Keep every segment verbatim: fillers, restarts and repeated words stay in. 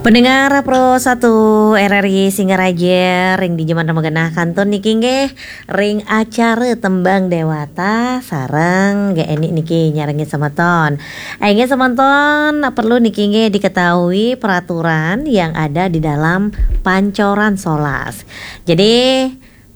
Pendengar Pro satu R R I Singaraja, ring dija manten magenah kantun niki nggih ring acara Tembang Dewata sareng Gék Eni niki nyarengin semeton. Inggih semeton, perlu niki nggih diketahui peraturan yang ada di dalam Pancoran Solas. Jadi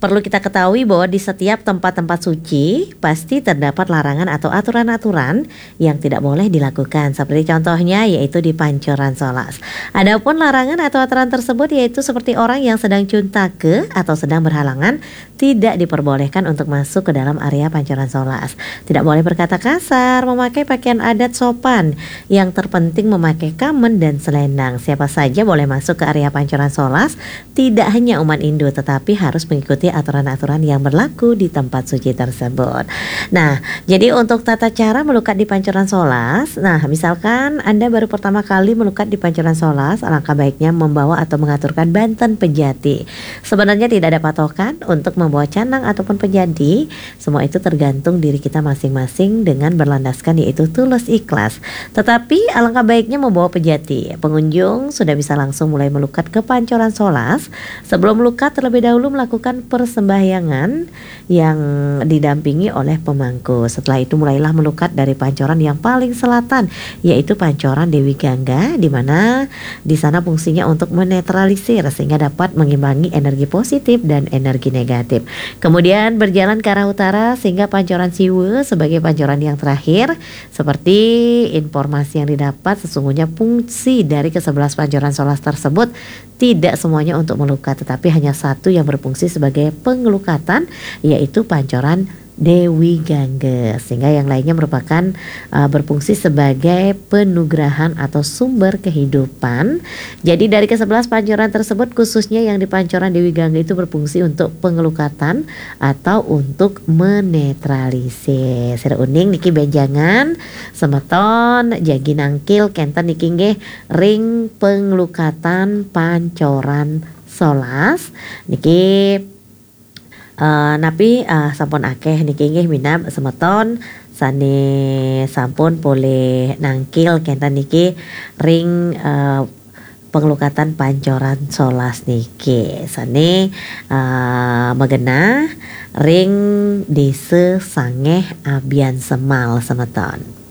perlu kita ketahui bahwa di setiap tempat-tempat suci pasti terdapat larangan atau aturan-aturan yang tidak boleh dilakukan. Seperti contohnya yaitu di Pancoran Solas. Adapun larangan atau aturan tersebut yaitu seperti orang yang sedang cuntake atau sedang berhalangan tidak diperbolehkan untuk masuk ke dalam area Pancoran Solas. Tidak boleh berkata kasar, memakai pakaian adat sopan. Yang terpenting memakai kamen dan selendang. Siapa saja boleh masuk ke area Pancoran Solas, tidak hanya umat Hindu, tetapi harus mengikuti aturan-aturan yang berlaku di tempat suci tersebut. Nah, jadi untuk tata cara melukat di Pancoran Solas, nah, misalkan Anda baru pertama kali melukat di Pancoran Solas, alangkah baiknya membawa atau mengaturkan banten pejati. Sebenarnya tidak ada patokan untuk membawa canang ataupun pejati, semua itu tergantung diri kita masing-masing dengan berlandaskan yaitu tulus ikhlas. Tetapi alangkah baiknya membawa pejati. Pengunjung sudah bisa langsung mulai melukat ke Pancoran Solas. Sebelum melukat, terlebih dahulu melakukan persembahyangan yang didampingi oleh pemangku. Setelah itu mulailah melukat dari pancoran yang paling selatan, yaitu Pancoran Dewi Gangga, di mana di sana fungsinya untuk menetralisir sehingga dapat mengimbangi energi positif dan energi negatif. Kemudian berjalan ke arah utara sehingga Pancoran Siwa sebagai pancoran yang terakhir. Seperti informasi yang didapat, sesungguhnya fungsi dari kesebelas Pancoran Solas tersebut tidak semuanya untuk melukat, tetapi hanya satu yang berfungsi sebagai pengelukatan, yaitu Pancoran Dewi Gangga, sehingga yang lainnya merupakan uh, berfungsi sebagai penugrahan atau sumber kehidupan. Jadi dari kesebelas pancoran tersebut, khususnya yang di Pancoran Dewi Gangga itu berfungsi untuk pengelukatan atau untuk menetralisir. Sira uning niki bénjangan semeton jagi nangkil kénten niki nggih ring penglukatan Pancoran Solas niki. Eh, napi, eh, sampun akéh niki nggih minab semeton sané sampun polih nangkil kénten niki ring, eh, penglukatan Pancoran Solas niki sané, eh, magenah ring Désa Sangéh Abiansemal semeton.